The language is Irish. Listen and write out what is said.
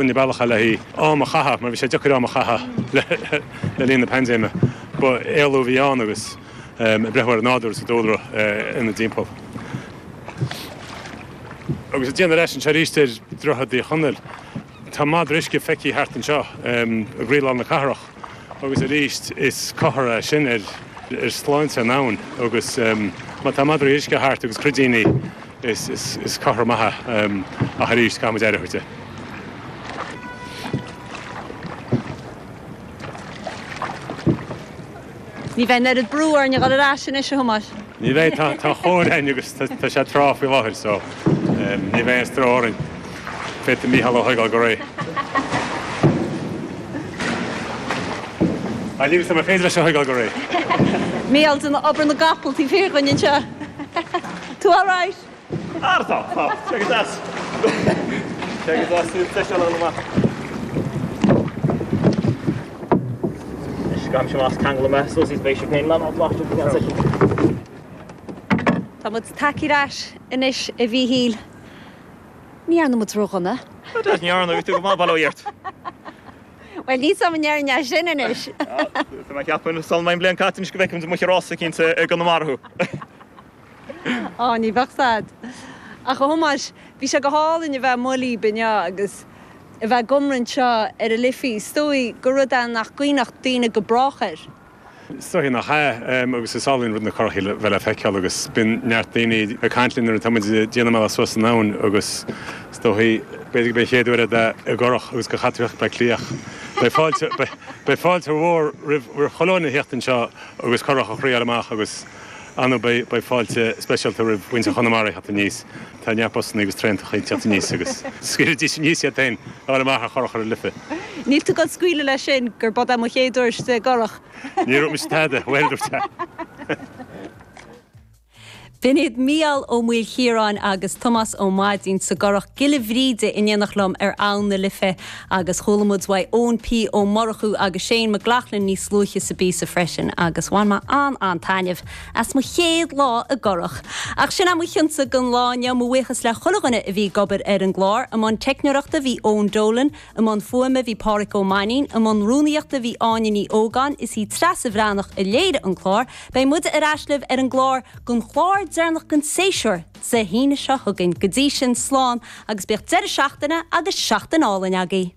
Duine bealach le haghaidh am a chaitheamh, mar bhí sé deacair am a chaitheamh le linn na paindéime. Ba éalú a bhí ann agus ag breathnú ar an nádúr is an dúlra ina dtimpeall. Agus ag déanamh ar ais anseo arís ar Dhroichead Uí Chonaill, tá madra uisce feicthe thart anseo i gcroílár na cathrach agus arís is comhartha é sin ar shláinte an abhainn agus má tá madraí uisce thart agus cruidíní, Is comhartha maith é, ach arís, caithfidh muid aire a thabhairt di. Ní bheidh an oiread brú orainn a dhul ar ais anois, a Thomáis. Ní bheidh, tá chóir againn agus tá sé tráth faoi láthair so ní bheidh aon stró orainn. Féadfaidh Mícheál a thógáil go réidh. Níl a fhios agam an féidir leis a thógáil go réidh. Mícheál ag déanamh obair na gcapall taobh thiar dhúinn anseo. Tú alright? Ah tá, tá. Sé go deas. Sé go deas, níl deis eile amach. Anois gabhaimse amach ceangal mé suas is beidh sé féin lán bláiste go ceann soicind. Tá muid tagtha ar ais anois a Mhíchíl. Ní dhearna muid ródhona. Ní dhearna, bhí tú go maith, bail ó Dhia ort. Bhuel, níl 's a'm an ndéarfainn é sin anois. Tá mé ag ceapadh, sula mbeidh an bhliain caite anois go bhfeicfimid amuigh ar rás eicínt i gConamara thú. Á, ní bheadh 's a'd. Ach a Thomáis, bhí sé go hálainn a bheith amuigh libh inniu agus a bheith ag iomramh anseo ar an Life. Is dóigh gur rud é nach gcuimhneodh daoine go brách air. Is dóigh nach ea, agus is álainn rud na currachaí a bheith le feiceáil agus bíonn neart daoine ag caint linn nuair atá muid ag déanamh a mbealach suas an abhainn agus is dóigh, b'fhéidir gurb é an chéad uair é i gcurach agus gur chaith tú Bleá Cliath. Beidh fáilte, beidh fáilte mhór roimh chuile dhuine a theacht anseo agus curach a thriáil amach agus ar ndóigh beidh fáilte speisialta roimh mhuintir Chonamara a theacht aníos. Tá neart busanna agus traentacha ag teacht aníos agus scaoilfidís aníos iad féin a fháil amach ar churach ar an Life. Níl tú ag dul scaoileadh leis sin gur b'é mo chéad uair istigh i gcurach. Níor dhúirt mise tada, bhuel, dúirt sé. B'in iad Mícheál Ó Maoilchiaráin agus Tomás Ó Maidín sa gcurach Giolla Bhríde in éineacht liom ar Abhainn na Life agus chuala muid uaidh Eoin P Ó Murchú agus Shane McLaughlin níos luaithe sa bpíosa freisin agus bhain mé an-an-taitneamh as mo chéad lá i gcurach. Ach sin é mo chionsa don lá inniu. Mo bhuíochas le chuile dhuine a bhí ag obair ar an gclár. I mbun teicneoireachta bhí Eoin Dolan, i mbun fuaime bhí Pádhraic Ó Mainnín, i mbun rúnaíochta bhí Áine Ní Ógáin, is í Treasa Bhreathnach a léirigh an clár. Beidh muide ar ais libh ar an gclár don chlár deireanach den séasúr Dé hAoine seo chugainn. Go dtí sin, slán agus bíodh deireadh seachtaine agus seachtain álainn agaibh.